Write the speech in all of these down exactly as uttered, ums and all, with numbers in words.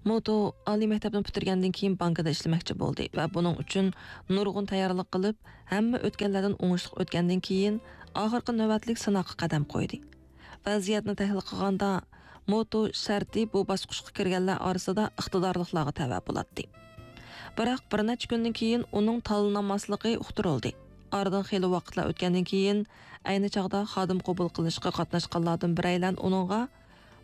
موتو ئالىي مەكتەپنى پۈتتۈرگەندىن كېيىن بانكىدا ئىشلىمەكچى بولدى ۋە بۇنىڭ ئۈچۈن نۇرغۇن تەييارلىق قىلىپ، ھەممە ئۆتكەللەردىن ئوڭۇشلۇق ئۆتكەندىن كېيىن، ئاخىرقى نۆۋەتلىك سىناققا قەدەم قويدى. ۋەزىيەتنى تەھلىل قىلغاندا، موتو شەرتى بۇ باسقۇچقا كىرگەنلەر ئارىسىدا ئىقتىدارلىقلارغا تەۋە بولاتتى. بىراق بىر نەچچە كۈندىن كېيىن ئۇنىڭ تاللىنالماسلىقى ئۇقتۇرۇلدى. ئارىدىن خېلى ۋاقىتلار ئۆتكەندىن كېيىن، ئەينى چاغدا خادىم قوبۇل قىلىشقا قاتناشقانلاردىن بىرەيلەن ئۇنىڭغا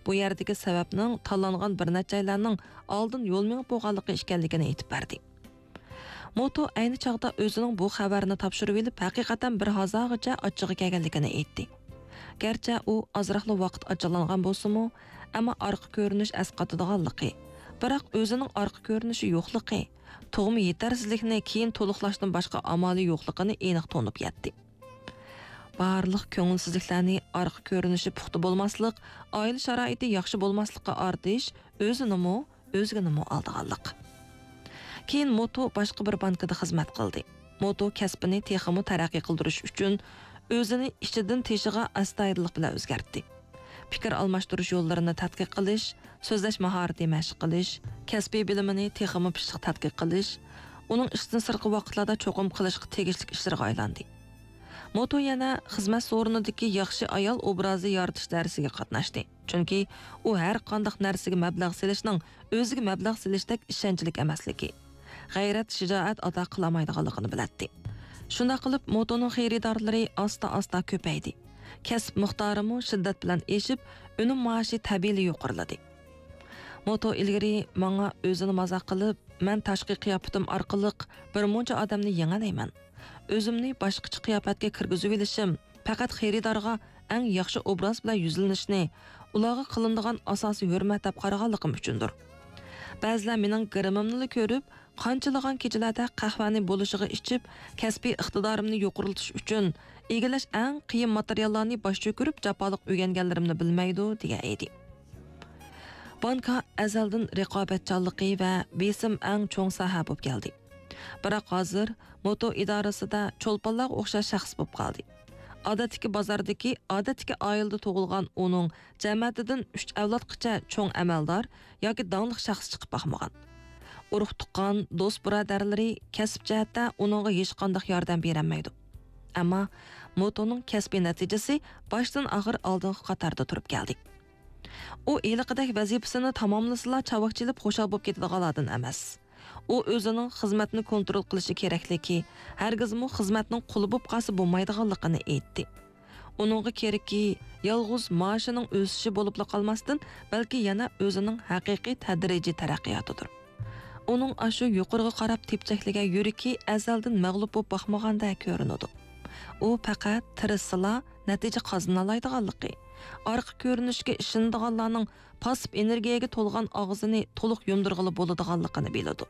بۇ يەردىكى سەۋەبنىڭ تاللانغان بىر نەچچەيلەننىڭ ئالدىن يول مېڭىپ بولغانلىقى ئىكەنلىكىنى ئېيتىپ بەردى. موتو ئەينى چاغدا ئۆزىنىڭ بۇ خەۋەرنى تاپشۇرۇۋېلىپ، ھەقىقەتەن بىر ھازاغىچە ئاچچىقى كەلگەنلىكىنى ئېيتتى. گەرچە ئۇ ئازراقلا ۋاقىت ئاچچىقلانغان بولسىمۇ، ئەمما ئارقا كۆرۈنۈش ئەسقاتىدىغانلىقى، بىراق ئۆزىنىڭ ئارقا كۆرۈنۈشى يوقلۇقى، تۇغما يېتەرسىزلىكنى كېيىن تولۇقلاشتىن باشقا ئامالى يوقلۇقىنى ئېنىق تونۇپ يەتتى. بارلىق كۆڭۈلسىزلىكلەرنى ئارقا كۆرۈنۈشى پۇختا بولماسلىق، ئائىلە شارائىتى ياخشى بولماسلىققا ئارتىش، ئۆزىنىمۇ، ئۆزگىنىمۇ ئالدىغانلىق. كېيىن موتو باشقا بىر بانكىدا خىزمەت قىلدى. موتو كەسپىنى تېخىمۇ تەرەققىي قىلدۇرۇش ئۈچۈن ئۆزىنى ئىچىدىن تېشىغا ئەستايىدىللىق بىلەن ئۆزگەرتتى. پىكىر ئالماشتۇرۇش يوللىرىنى تەتقىق قىلىش، سۆزلەش ماھارىتى مەشىق قىلىش، كەسپىي بىلىمىنى تېخىمۇ پىششىق تەتقىق قىلىش، ئۇنىڭ ئىشتىن سىرتقى ۋاقىتلاردا چوقۇم قىلىشقا تېگىشلىك ئىشلىرىغا ئايلاندى. موتو يەنە خىزمەت سورۇنىدىكى ياخشى ئايال ئوبرازى يارىتىش دەرسىگە قاتناشتى. چۈنكى ئۇ ھەر قانداق نەرسىگە مەبلەغ سېلىشنىڭ ئۆزىگە مەبلەغ سېلىشتەك ئىشەنچلىك ئەمەسلىكى، غەيرەت، شىجائەت ئاتا قىلالمايدىغانلىقىنى بىلەتتى. شۇنداق قىلىپ، موتونىڭ خېرىدارلىرى ئاستا-ئاستا كۆپەيدى. كەسىپ مىقدارىمۇ شىددەت بىلەن ئېشىپ، ئۈنۈم مائاشى تەبىئىيلا يۇقىرىلىدى. موتو ئىلگىرى ماڭا ئۆزىنى مازاق قىلىپ، مەن تاشقى قىياپىتىم ئارقىلىق بىر مۇنچە ئادەمنى يېڭەلەيمەن. ئۆزۈمنى باشقىچە قىياپەتكە كىرگۈزۈۋېلىشىم، پەقەت خېرىدارغا ئەڭ ياخشى ئوبراز بىلەن يۈزلىنىشنى، ئۇلارغا قىلىنىدىغان ئاساسىي ھۆرمەت دەپ قارىغانلىقىم ئۈچۈندۇر. بەزىلەر مېنىڭ گىرىمىمنىلا كۆرۈپ، قانچىلىغان كېچىلەردە قەھۋەنى بولۇشىغا ئىچىپ، كەسپىي ئىقتىدارىمنى يۇقىرىلىتىش ئۈچۈن ئىگىلەش ئەڭ قىيىن ماتېرىياللارنى باش چۆكۈرۈپ جاپالىق ئۆگەنگەنلىرىمنى بىلمەيدۇ، دېگەن ئىدى. بانكا ئەزەلدىن رىقابەتچانلىقى ۋە بېسىم ئەڭ چوڭ ساھە بولۇپ كەلدى. بىراق ھازىر موتو ئىدارىسىدە چولپانلارغا ئوخشاش شەخس بولۇپ قالدى. ئادەتتىكى بازاردىكى ئادەتتىكى ئائىلىدە تۇغۇلغان ئۇنىڭ جەمەتىدىن ئۈچ ئەۋلادقىچە چوڭ ئەمەلدار ياكى داڭلىق شەخس چىقىپ باقمىغان. ئۇرۇق-تۇغقان، دوست-بۇرادەرلىرى كەسىپ جەھەتتە ئۇنىڭغا ھېچقانداق ياردەم بېرەلمەيدۇ. ئەمما موتونىڭ كەسپىي نەتىجىسى باشتىن-ئاخىر ئالدىنقى قاتاردا تۇرۇپ كەلدى. ئۇ ھېلىقىدەك ۋەزىپىسىنى تاماملىسىلا چاۋاك چېلىپ خۇشال بولۇپ كېتىدىغانلاردىن ئەمەس. ئۇ ئۆزىنىڭ خىزمەتنى كونترول قىلىشى كېرەكلىكى، ھەرگىزمۇ خىزمەتنىڭ قۇلى بولۇپ قالسا بولمايدىغانلىقىنى ئېيتتى. ئۇنىڭغا كېرىكى يالغۇز مائاشىنىڭ ئۆسۈشى بولۇپلا قالماستىن، بەلكى يەنە ئۆزىنىڭ ھەقىقىي تەدرىجىي تەرەققىياتىدۇر. ئۇنىڭ ئاشۇ يۇقىرىغا قاراپ تېپچەكلىگەن يۈرىكى ئەزەلدىن مەغلۇپ بولۇپ باقمىغاندەك كۆرۈنىدۇ. ئۇ پەقەت تىرىشسىلا نەتىجە قازىنالايدىغانلىقى، ئارقا كۆرۈنۈشكە ئىشىنىدىغانلارنىڭ پاسسىپ ئېنېرگىيەگە تولغان ئاغزىنى تولۇق يۇمدۇرغىلى بولىدىغانلىقىنى بىلىدۇ.